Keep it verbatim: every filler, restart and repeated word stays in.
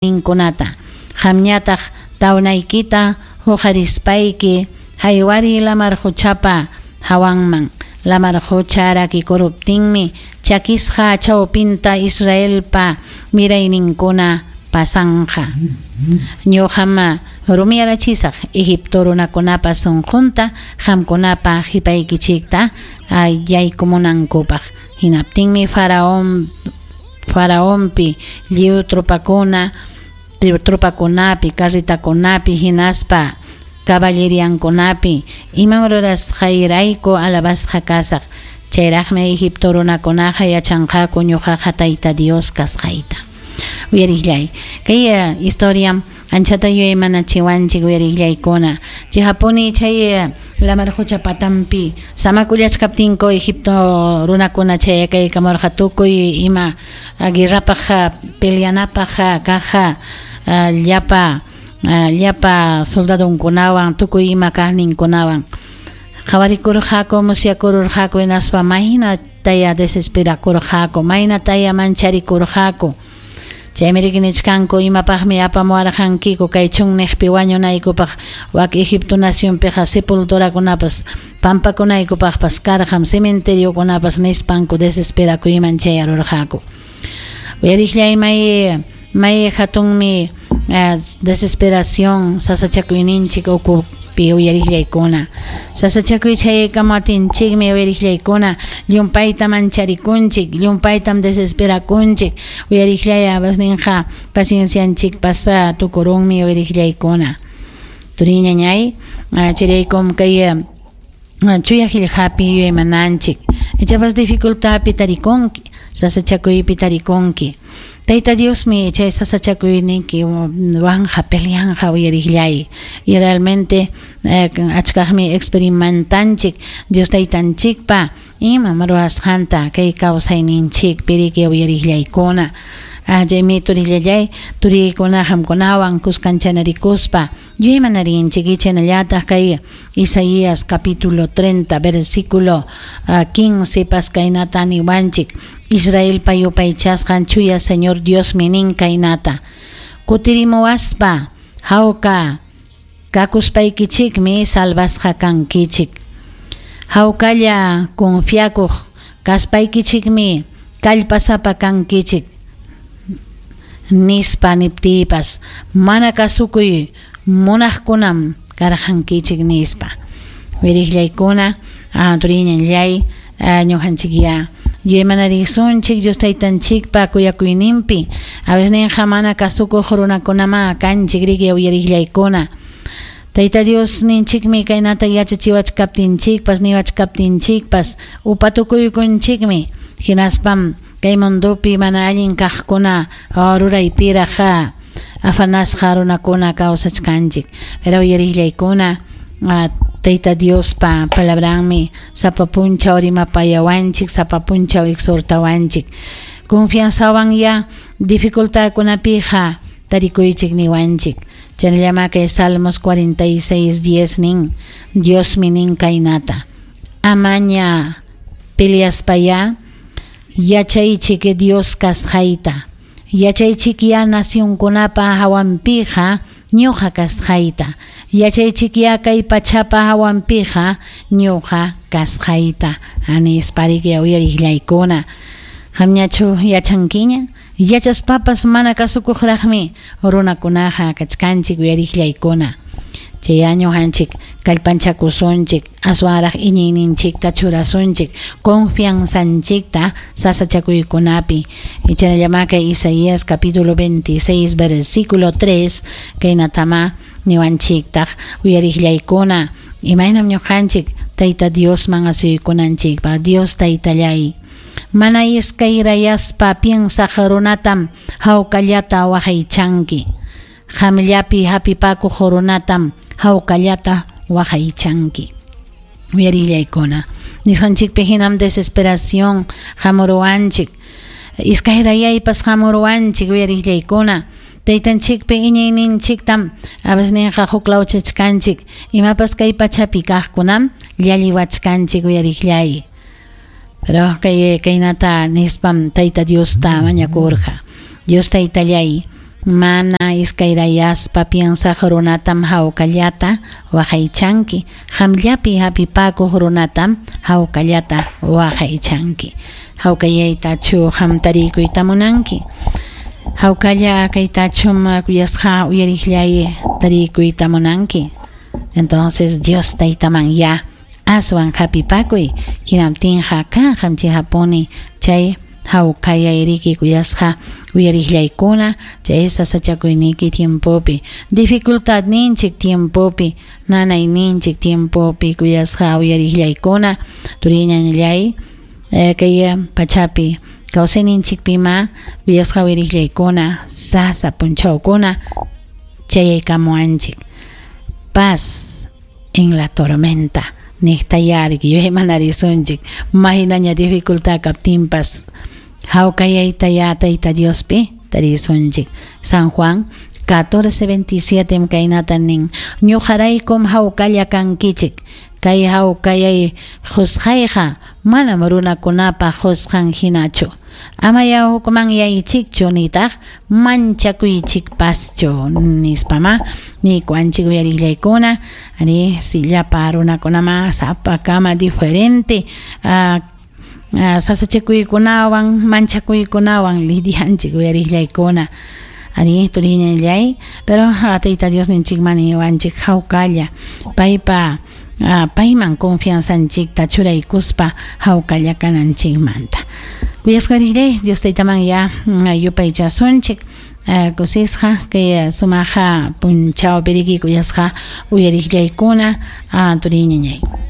Ninkunata qamñataq tawnaykita huqarispayki haywariy lamar quchapa hawanman. Lamar qucha rakikuruptinmi chakisqa chawpinta Israelpa mirayninkuna pasanqa. Ñuqam rumiyarachisaq Egipto runakunapa sunqunta qamkunapa qipaykichikta yaykumunankupaq. Hinaptinmi faraón faraonpi lliw tropakuna tropakunapi carretakunapi hinaspa caballeriankunapi imam rurasqayrayku alabasqa kasaq. Chayraqmi Egipto runakunaqa yachanqaku ñuqaqa Tayta Dios kasqayta. Uyariqllay, kay historia anchata yuyaymanachiwanchik uyariqllaykuna. Chayhapuni chay lamar qucha patanpi samakullachkaptinku Egipto runakuna chayakaykamurqa tukuy ima guerrapaq peleanapaq kaq llapa llapa soldadonkunawan tukuy ima kaqninkunawan qhawarikurqaku, musyakururqaku, hinaspa maynataya desesperakurqaku, maynataya mancharikurqaku. Chaymi riki nichkanku imapaqmi apamuwarqankiku kay chunniqpi wañunaykupaq, wak Egipto nacionpiqa sepulturakunapas pampakunaykupaqpas karqam, cementeriokunapas nispanku desesperakuyman chayarurqaku. Uyariqllay, may may hatunmi desesperación sasachakuyninchik ukupi uyariqllaykuna. Sasachakuy chayaykamuwatinchikmi uyariqllaykuna llumpayta mancharikunchik, llumpaytam desesperakunchik. Uyariqllay, abasninqa paciencianchikpas tukurunmi uyariqllaykuna. Turiñañay, chayraykum kay chuya qillqapi yuyaymananchik. Ichapas dificultadpi tarikunki, sasachakuypi tarikunki. Tayta Diosmi chay sasachakuyniyki wanqa peleanqa uyariqllay. Y realmente achkaqmi experimentanchik Dios Taytanchikpa imam ruwasqanta kay kawsayninchikpi riki uyariqllaykuna. Chaymi turillallay, turiykuna qamkunawan kuskanchanarikuspa yuyaymanarinchik. Chaynallataq kay Isaías capítulo treinta versículo quince pas kaynata niwanchik: Israelpa yupaychasqan chuya Señor Diosmi nin kaynata: Kutirimuwaspa hawka kakuspaykichikmi salvasqa kankichik. Hawkalla confiakuq kaspaykichikmi kallpasapa kankichik nispa niptiypas mana kasukuy munaqkunam karqankichik nispa. Wiriqllaykuna, turiñanllay, ñuqanchikya yuyaymanarisunchik Dios Taytanchikpa kuyakuyninpi. A veces ninqa mana kasukuq runakunama kanchik riki uyariqllaykuna. Tayta Dios ninchikmi kaynata yachachiwachkaptinchikpas niwachkaptinchikpas upatukuykunchikmi. Hinaspam kay mundopi mana allin kaqkuna ruraypiraq afanasqa runakuna kawsachkanchik. Pero uyariqllaykuna, Tayta Diospa palabranmi sapa punchaw rimapayawanchik, sapa punchaw exhortawanchik. Confianzawan ya dificultadkunapiqa tarikuychik niwanchik. Chaynallama kay Salmos cuarenta y seis diez nin: Diosmi nin kaynata: Amaña peleaspaya yachaychik Dios kasqayta. Yachaychik ya nacionkunapa hawanpiqa ñuqa kasqayta. Yachaychik ya kay pachapa hawanpiqa ñuqa kasqayta. Anispa riki uyariqllaykuna. Qamñachu yachankiña? Yachaspapas mana kasukuqraqmi runakunaqa kachkanchik uyariqllaykuna. Chay ñuqanchik kallpanchakusunchik, aswanraq iñiyninchikta churasunchik, confianzanchikta sasachakuykunapi. Chaynallama kay Isaías capítulo veintiséis versículo tres kaynatama niwanchiktaq uyariqllaykuna. Imaynam ñuqanchik Tayta Diosman asuykunanchikpaq. Dios Taytallay, mana iskayrayaspa piensaq runatam hawkallata waqaychanki. Qamllapi hapipakuq runatam hawkallata waqaychanki. Uyarillaykuna. Nisqanchikpi hinam desesperación hamuruwanchik, iskayrayaypas hamuruwanchik uyarillaykuna. Taytanchikpi iñiyninchiktam abasninqa huklawchachkanchik, imapas kay pachapi kaqkunam llalliwachkanchik uyariqllay. Pero kay kaynata nispam Tayta Diosta mañakurqa: Dios Taytallay, Mana iskayrayaspa piensaq runatam hawkallata waqaychanki. Qamllapi hapipakuq runatam hawkallata waqaychanki. Hawkayaytachu qam tarikuyta munanki. Hawkalla kaytachum kuyasqa uyariqllay tarikuyta munanki. Entonces Dios taytaman ya aswan hapipakuy hinaptinqa kanqam chihapuni chay hawkayayriki kuyasqa uyariqllaykuna chay sasachakuyniki tiempopi dificultadninchik tiempopi nanayninchik tiempopi kuyasqa uyariqllaykuna turiñañallay eh, kay pachapi kawsayninchikpima kuyasqa uyariqllaykuna sasa punchawkuna chayaykamuanchik. Paz en la tormenta niqtayariki yuyaymanarisunchik maynaña dificultad kaptinpas hawkayayta tayta Diospi tarisunchik. San Juan catorce veintisiete kaynata nin ñuqaraykum hawkalla kankichik kay hawkayay qusqayqa manam runakunapa qusqan hinachu amaya hukmanyaychikchu nitaq manchakuychikpaschu nispama nikuanchik uyariqllaykuna ari si llapa runakunama sapakama diferente uh, uh, sasachakuykunawan manchakuykunawan lidianchik uyariqllaykuna ari turiñallay pero tayta Dios ninchikman niwanchik hawkalla paypa uh, payman confianzanchikta churaykuspa hawkalla kananchikmanta. Kuyasqariqllay Dios taytaman ya yupaychasunchik uh, kusisqa kay sumaqa punchawpi riki kuyasqa uyariqllaykuna uh, turiñañay.